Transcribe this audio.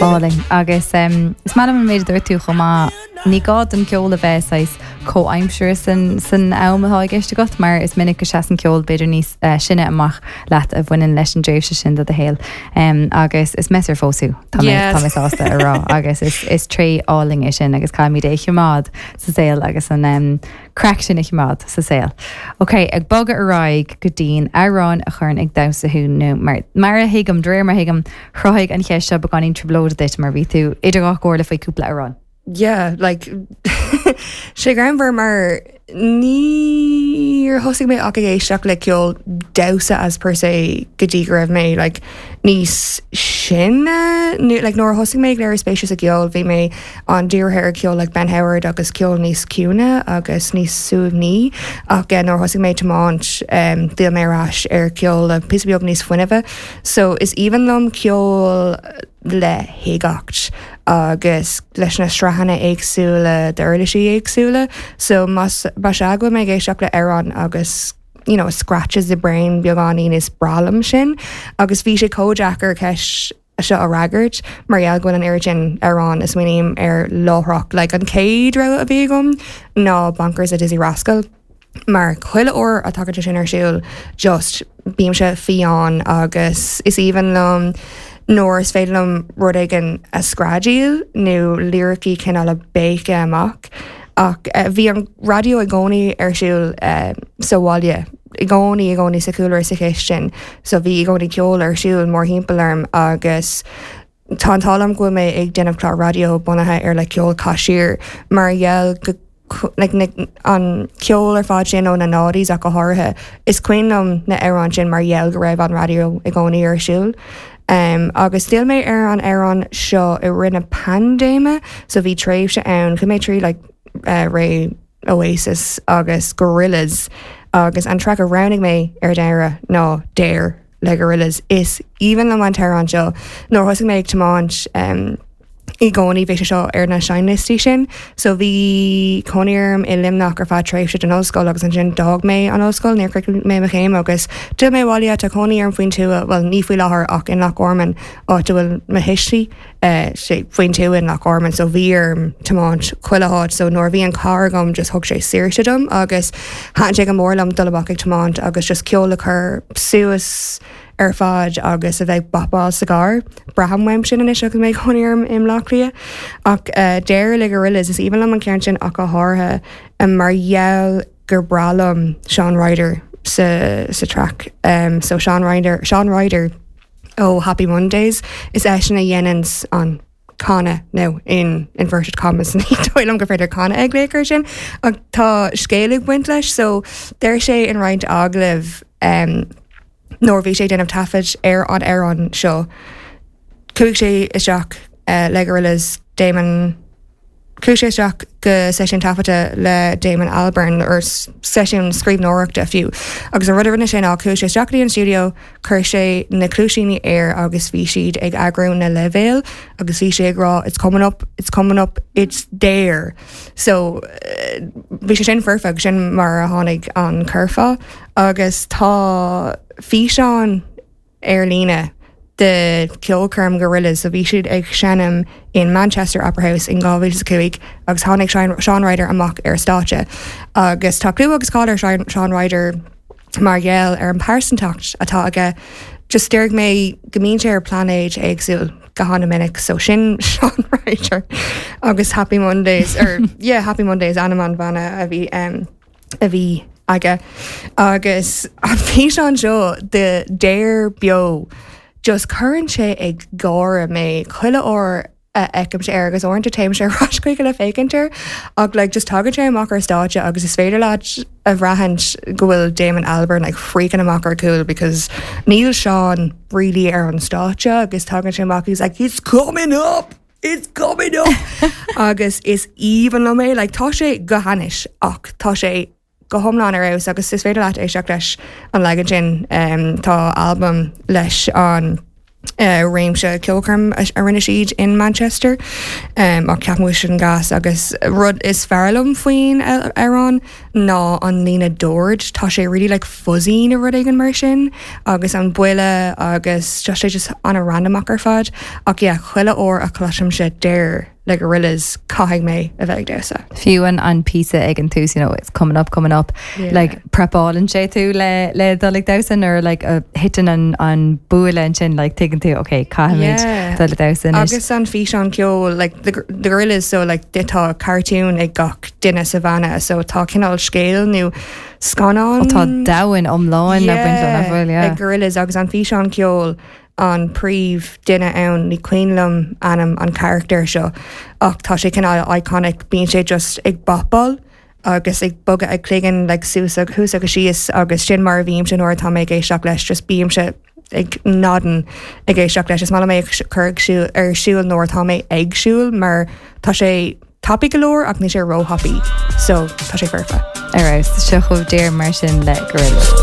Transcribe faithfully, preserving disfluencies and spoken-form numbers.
Álainn agus um, is maith liom an méid dúirt tú chomh maith ní gá don ceol a bheith saghas comhaimseartha san san am atá i gceist agat mar is minic go seasann ceol b'fhéidir níos uh, sine amach leat a bhaineann leis an dtréimhse sin de do shaol um, agus is measartha fós thú tá Yes. tá mé sásta a rá agus is, is tréith álainn é sin agus caithfimid é choimeád sa saol agus an um, craic sin a choimeád sa saol. Ok, ag bogadh ar aghaidh go dtí an amhrán a chuireann ag damhsa thú nó mar mar a thuigim de réir mar a thuigim chruthaigh an cheist seo beagáinín trioblóid duit mar bhí tú idir dhá chomhairle faoi cúpla amhrán. Yeah, like sé greannmhar mar níor thosaigh mé ach ag éisteacht le ceol damhsa as per se go dtí go raibh mé like, níos sine nó like, nuair a thosaigh mé ag léiriú spéise sa gceol bhí mé an-dírithe ar ceol like Ben Howard agus ceol níos ciúine agus níos suaimhní ach eh, nuair a thosaigh mé tiomáint um, d'fhill mé ar ais ar ceol le píosa beag níos fuinnimhe so is aoibhinn liom ceol le huigeacht agus leis na sraitheanna éagsúla d'uirlisí éagsúla so más más ea go bhfuil mé ag éisteacht le amhrán agus you know, scratches the brain beagáinín is breá liom sin agus bhí sé chomh deacair ceist seo a fhreagairt mar gheall go bhfuil an oiread sin amhrán is smaoiním ar láithreach like an chéad rogha a bhí agam ná Bonkers a Dizzee Rascal. Mar chuile uair a thagann sé sin ar siúl just bímse fiáin agus is aoibhinn liom nuair is féidir liom rud éigin a screadaíl nó liricí cineál a béiceadh amach ach uh, bhí an raidió i gcónaí ar siúl uh, sa bhaile i gcónaí i gcónaí sa chúlra sa chistin so bhí i gcónaí ceol ar siúl mórthimpeall orm agus tá an t-ádh liom go bhfuil mé ag déanamh clár raidió bunaithe ar le ceol caisiir mar gheall go like, na, an ceol ar fad sin ó na noughties ach go háirithe is cuimhin liom na hamhráin sin mar gheall go raibh an raidió i gcónaí ar siúl. Um, agus d'fhill mé ar an amhrán seo i rith na paindéime so bhí tréimhse ann chuaigh mé trí like, uh, ré Oasis agus Gorillaz agus an track a roghnaigh mé ar deireadh ná Dare le Gorillaz is aoibhinn liom an t-amhrán seo nuair thosaigh mé ag tiomáint um, i gcónaí bhí sé seo ar na seinnliostaí sin, so bhí cónaí orm i Luimneach ar feadh tréimhse den ollscoil agus ansin d'fhág mé an ollscoil níor chríochnaigh mé mo chéim agus d'fhill mé abhaile tá cónaí orm faoin tuath well ní faoi láthair ach in Loch Garman áit a bhfuil mo thuistí uh, sé faoin tuath in Loch Garman so bhí orm tiomáint chuile áit so nuair bhí an carr agam just thug sé saoirse dom agus thaitin sé go mór liom dul amach ag tiomáint agus just ceol a chur suas ar fad agus a bheith bopáil sa gcarr. Braithim uaim sin anois agus mé i mo chónaí i mBaile Átha Cliath ach uh, Dare le Gorillaz is aoibhinn liom an ceann sin ach go háirithe um, mar gheall gur breá liom Shaun Ryder sa, sa track. Um, so Shaun Ryder, Shaun Ryder ó Happy Mondays is eisean a dhéanann an canadh nó in inverted commas ní dóigh liom gur féidir canadh ag léir sin ach tá scéal ag baint leis so deir sé in roinnt agallamh um, nuair bhí sé déanamh taifead ar an amhrán seo. Chuaigh sé isteach uh, le Gorillaz Damon Chuaigh sé isteach go seisiún taifeadta le Damon Albarn or seisiún scríbhneoireachta fiú. Agus an rud a rinne sé ná chuaigh sé isteach go dtí an studio, chuir sé na cluaisíní air agus bhí siad ag eagrú na leibhéil agus bhí sé ag rá it's coming up, it's coming up, it's there. So uh, bhí sé sin foirfe sin mar a tháinig an curfá agus tá físeán ar líne de ceolchoirm Gorillaz so bhí siad ag seinm in Manchester Opera House in dhá mhíle cúig agus tháinig Shaun Ryder amach ar stáitse agus tá clú agus cáil ar Shaun Ryder mar gheall ar an pearsantacht atá aige just deir mé go mbíonn sé ar pláinéad éagsúil go han-mhinic so sin Shaun Ryder agus Happy Mondays or yeah Happy Mondays ainm an bhanna a bhí um, a bhí aige agus an físeán seo de Dare beo just cuireann sé ag gáire mé chuile uair a fheicim sé air agus uaireanta téim sé ar ais chuige le féachaint air ach like just tagann sé amach ar stáitse agus is féidir leat a bhraithint go bhfuil Damon Albarn like freaking amach ar cúl because níl Shaun really ar an stáitse agus tagann sé amach he's like it's coming up It's coming up agus is aoibhinn liom é like tá sé go hainnis ach tá sé go hiomlán ar fheabhas agus is féidir leat éisteacht leis an leagan sin um, tá albam leis an Uh, réimse ceolchoirm a a rinne siad in Manchester um, ach ceapaim sin gas agus rud is fearr liom faoin amhrán ná an líne dord tá sé really like fuzzy nó rud éigin mar sin agus an buille agus just sé just an-randomach ar fad ach yeah, chuile uair a chloisimse deir le Gorillaz caithfidh mé a bheith ag damhsa. Fiú an an píosa ag an tús you know, it's coming up coming up Yeah. like prepálann sé tú le le dul ag damhsa or like uh, hitin an an buille ansin like tuigeann tú okay caithfimid Yeah. dul ag damhsa anois. Agus an físeán ceol like the, the Gorillaz so like de tá cartoon ag gach duine sa bhanna so tá cineál scéal nó scannán Ó tá domhan iomlán le baint le bhfuil yeah. ag Gorillaz agus an físeán ceol an príomh duine ann ní cuimhin liom ainm an character seo ach tá sé cineál iconic bíonn sé just ag bopáil agus ag bogadh ag cloigeann like suas ag thuas agus síos agus sin mar a bhímse nuair atá mé ag éisteacht leis just bímse ag nodding ag éisteacht leis is maith mé cur ag siúl ar siúl nuair atá mé ag siúl mar tá sé tapaidh go leor ach ní sé róthapaidh so tá sé foirfe. Ar seo chugaibh mar sin le Gorillaz.